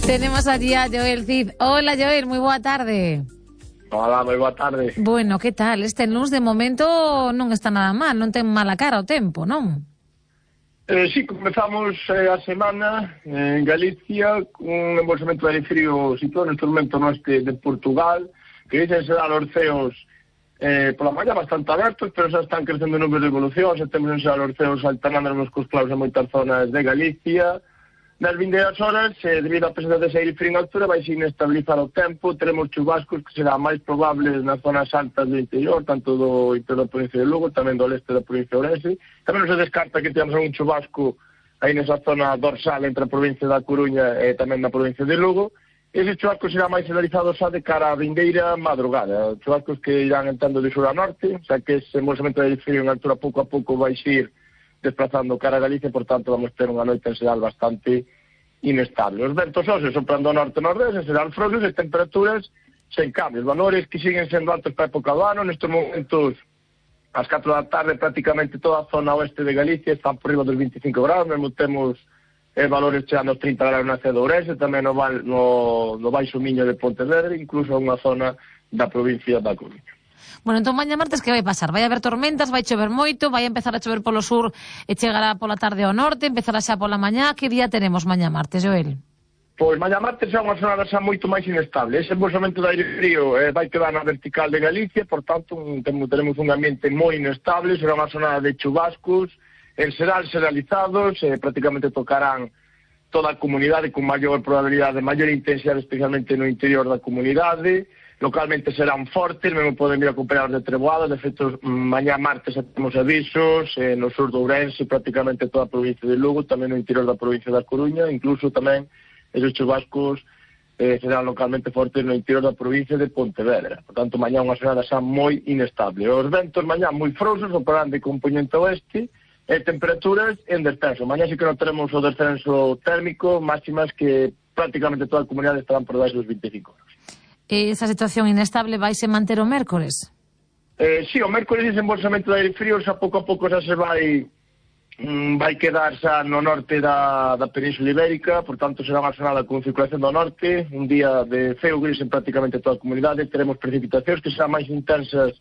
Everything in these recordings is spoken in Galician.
Tenemos allí a Joel Cid. Hola, Joel, moi boa tarde. Hola, moi boa tarde. Bueno, que tal? Este luns de momento non está nada mal, non ten mala cara o tempo, non? Sí, comezamos a semana en Galicia con un embolsamento de aire frío situado neste momento no este de Portugal, que dicen se dan os ceos pola mañá bastante abertos, pero xa están crecendo nubes de evolución, xa temos en os ceos alternándonos cos clouds en moitas zonas de Galicia. Nas vindeiras horas, debido á presenza dese aire frío en altura, vai se inestabilizar o tempo, teremos chubascos que serán máis probables nas zonas altas do interior, tanto do interior da provincia de Lugo, tamén do leste da provincia de Ourense. Tamén non se descarta que temos un chubasco aí nesa zona dorsal entre a provincia da Coruña e tamén na provincia de Lugo. Eses chubascos serán máis generalizados xa de cara á vindeira madrugada, chubascos que irán entrando de sur a norte, xa que ese embolsamento de aire frío en altura pouco a pouco vai ir desplazando cara a Galicia, por tanto vamos ter unha noite en xeral bastante inestable. Os ventos óseos soprando ao norte-nordeste serán frouxos e temperaturas sen cambios, valores que siguen sendo altos para a época do ano. Nestes momentos, ás 4 da tarde, prácticamente toda a zona oeste de Galicia está por riba dos 25 graus, mesmo temos valores chegando aos 30 graus na cidade de Ourense, tamén no Baixo Miño de Pontevedra, incluso unha zona da provincia da Coruña. Bueno, entón mañá martes que vai pasar? Vai haber tormentas, vai chover moito, vai empezar a chover polo sur e chegará pola tarde ao norte, empezará xa pola mañá. Que día tenemos mañá martes, Joel? Pois mañá martes é unha xornada xa moito máis inestable. Ese embolsamento de aire frío vai quedar na vertical de Galicia, por tanto teremos un ambiente moi inestable, será unha xornada de chubascos, en xeral xeralizados, prácticamente tocarán toda a comunidade con maior probabilidade, maior intensidade, especialmente no interior da comunidade. Localmente serán fortes, mesmo poden vir acompañados de treboadas. De feito, mañá martes temos avisos no sur do Ourense, prácticamente toda a provincia de Lugo, tamén no interior da provincia da Coruña, incluso tamén esos chubascos serán localmente fortes no interior da provincia de Pontevedra. Por tanto, mañá unha xornada xa moi inestable. Os ventos mañá moi frouxos, operarán de componente oeste, e temperaturas en descenso. Mañá sí que non teremos o descenso térmico, máximas que prácticamente toda a comunidade estarán por debaixo dos 25 graus. Esa situación inestable vaise manter o mércores? Sí, o mércores ese embolsamento de aire frío xa pouco a pouco xa se vai quedar xa no norte da Península Ibérica, por tanto será unha xornada con circulación do norte, un día de ceo gris en prácticamente toda a comunidade. Teremos precipitacións que serán máis intensas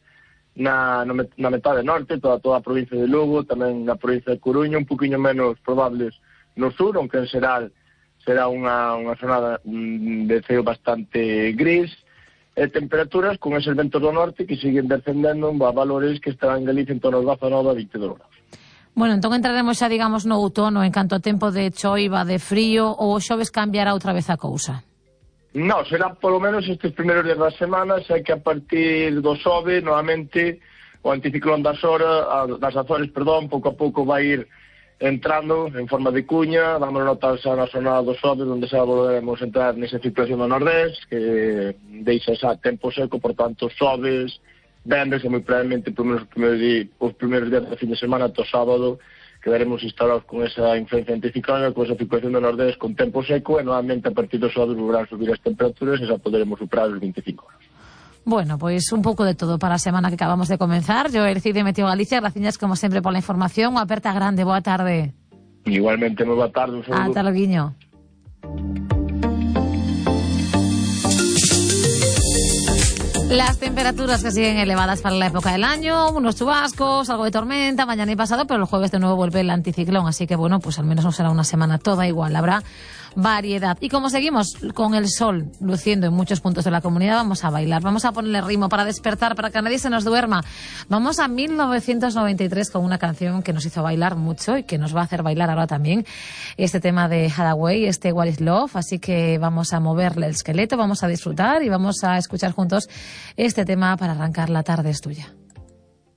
na metade norte, toda a provincia de Lugo, tamén na provincia de Coruña, un poquinho menos probables no sur, aunque en xeral será unha xornada de ceo bastante gris, e temperaturas con eses ventos do norte que siguen descendendo a valores que estarán en Galicia en torno aos 19 a 22 graus. Bueno, entón entraremos xa, digamos, no outono en canto a tempo de choiva, de frío, ou o xoves cambiará outra vez a cousa? Non, será polo menos estes primeiros días da semana, xa que a partir do xoves, novamente, o anticiclón das Azores, pouco a pouco vai ir entrando en forma de cuña. Vamos a notar xa na zona do xoves, onde xa volveremos a entrar nesa circulación do nordés, que deixa xa tempo seco, por tanto, xoves, venres, e moi probablemente os primeiros días da fin de semana, ata o sábado, quedaremos instalados con esa influencia anticiclónica, con esa circulación do nordés con tempo seco, e normalmente a partir do xoves volverán a subir as temperaturas e xa poderemos superar os 25 graus. Bueno, pois un pouco de todo para a semana que acabamos de comenzar. Joel Cid de Meteo Galicia, graciñas como sempre pola información. Unha aperta grande, boa tarde. Igualmente, moi boa tarde, un saludo. Ata loguiño. Las temperaturas que siguen elevadas para la época del año, unos chubascos, algo de tormenta, mañana y pasado, pero el jueves de nuevo vuelve el anticiclón, así que bueno, pues al menos no será una semana toda igual, habrá variedad. Y como seguimos con el sol luciendo en muchos puntos de la comunidad, vamos a bailar, vamos a ponerle ritmo para despertar, para que nadie se nos duerma. Vamos a 1993 con una canción que nos hizo bailar mucho y que nos va a hacer bailar ahora también, este tema de Hathaway, este What is Love, así que vamos a moverle el esqueleto, vamos a disfrutar y vamos a escuchar juntos este tema para arrancar. La tarde es tuya.